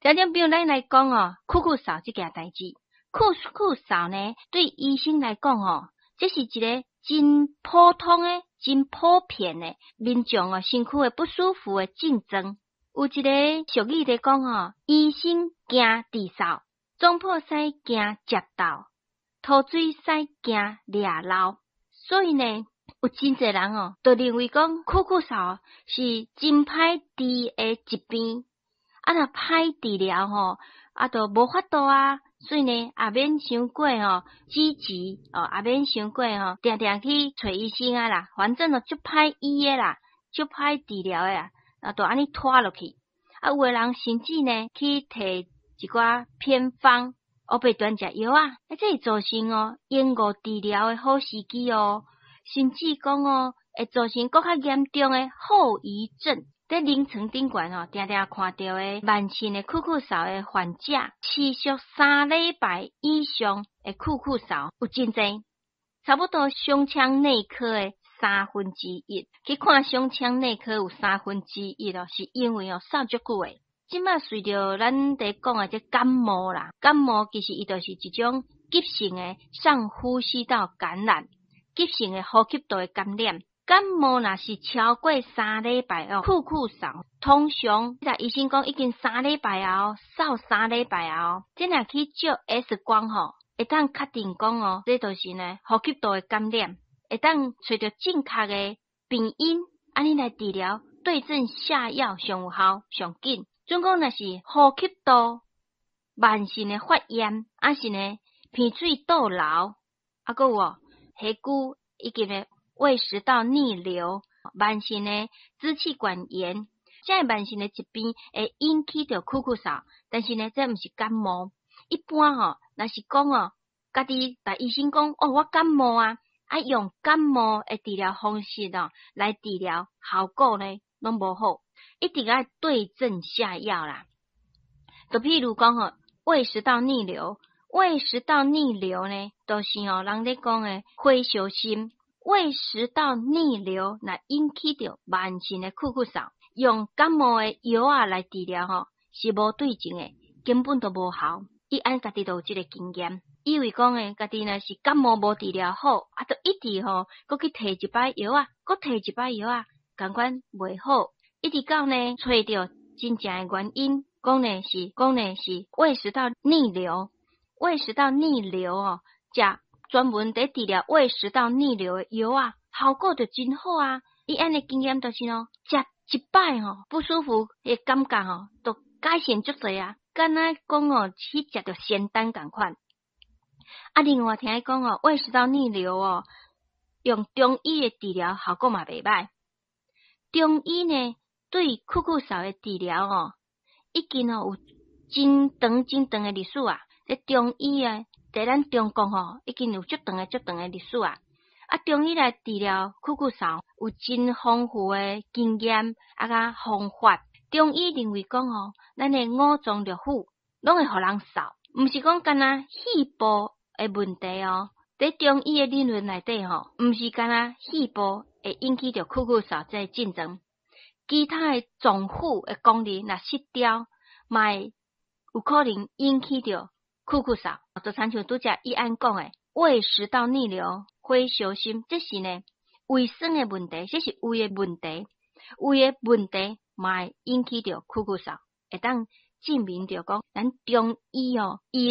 聽眾朋友，咱來講哦，咳咳嗽這件代誌，咳咳嗽呢，對醫生來講哦，這是一个真普通的、真普遍的民眾哦，身軀的不舒服的症狀。有一个俗語咧講哦，醫生驚治嗽，總鋪師驚食豆，塗水師驚掠漏。所以呢，有真濟人哦，就認為講咳咳嗽是真歹治的疾病。啊，若歹治療吼，啊，就無法度啊。所以呢，也免傷過吼積極哦，也免傷過吼，定定去揣醫生啊啦。反正就足歹醫的啦，足歹治療的啊，啊，就按呢拖落去。啊，有的人甚至呢去提一寡偏方，烏白斷食藥啊，啊，這會造成哦延誤治療的好時機哦，甚至講哦會造成閣較嚴重的後遺症。佇臨床頂懸吼，定定看著的慢性的咳咳嗽的患者，持續3禮拜以上的咳咳嗽有真濟，差不多胸腔內科的三分之一去看胸腔內科有三分之一哦，是因為哦嗽足久的。這馬隨著咱佇講的這感冒啦，感冒其實伊就是一種急性的上呼吸道感染，急性的呼吸道的感染。感冒若是超過三禮拜哦，咳咳嗽，通常若醫生講已經三禮拜啊哦，嗽三禮拜啊哦，這若去照 X 光吼，會當確定講哦，這就是呢呼吸道的感染，會當揣著正確的病因，按呢來治療，對症下藥上有效上緊。準講若是呼吸道慢性的發炎，抑是呢鼻水倒流，啊，閣有哦，下疽以及呢胃食道逆流、慢性的支氣管炎，這个慢性的疾病會引起著咳咳嗽，但是呢，這毋是感冒。一般吼，若是講哦，家己共醫生講哦，我感冒啊，啊用感冒的治療方式哦來治療，效果呢攏無好，一定愛對症下藥啦。就譬如講吼，胃食道逆流，胃食道逆流呢，就是吼人咧講的火燒心。胃食道逆流若引起著慢性的咳咳嗽，用感冒的藥仔來治療吼，是無對症的，根本就無效。伊按家己就有這个經驗，以為講的家己若是感冒無治療好，啊，就一直吼，閣去提一擺藥仔，閣提一擺藥仔，仝款袂好。一直到呢，揣著真正的原因，講呢是胃食道逆流，胃食道逆流哦，食專門佇治療胃食道逆流的藥仔，效果就真好啊！伊按呢經驗就是哦，食一擺吼不舒服的感覺吼，就改善足濟啊！敢若講哦，去食著仙丹仝款。啊，另外聽伊講哦，胃食道逆流哦，用中醫的治療效果嘛袂䆀。中醫呢，對咳咳嗽的治療哦，已經哦有真長真長的歷史啊！這中醫啊，佇咱中國吼，已經有足長的足長的歷史啊！啊，中醫來治療咳咳嗽，有真豐富的經驗啊，佮方法。中醫認為講吼，咱的五臟六腑攏會予人嗽，毋是講干焦肺部的問題哦。佇中醫的理論內底吼，毋是干焦肺部會引起著咳咳嗽這个症狀，其他的臟腑的功能若失調，嘛會有可能引起著咳咳嗽。就親像拄才伊按講的，胃食道逆流、火燒心，這是呢胃酸的問題，這是胃的問題，胃的問題嘛會引起著咳咳嗽，會當證明著講，咱中醫哦，伊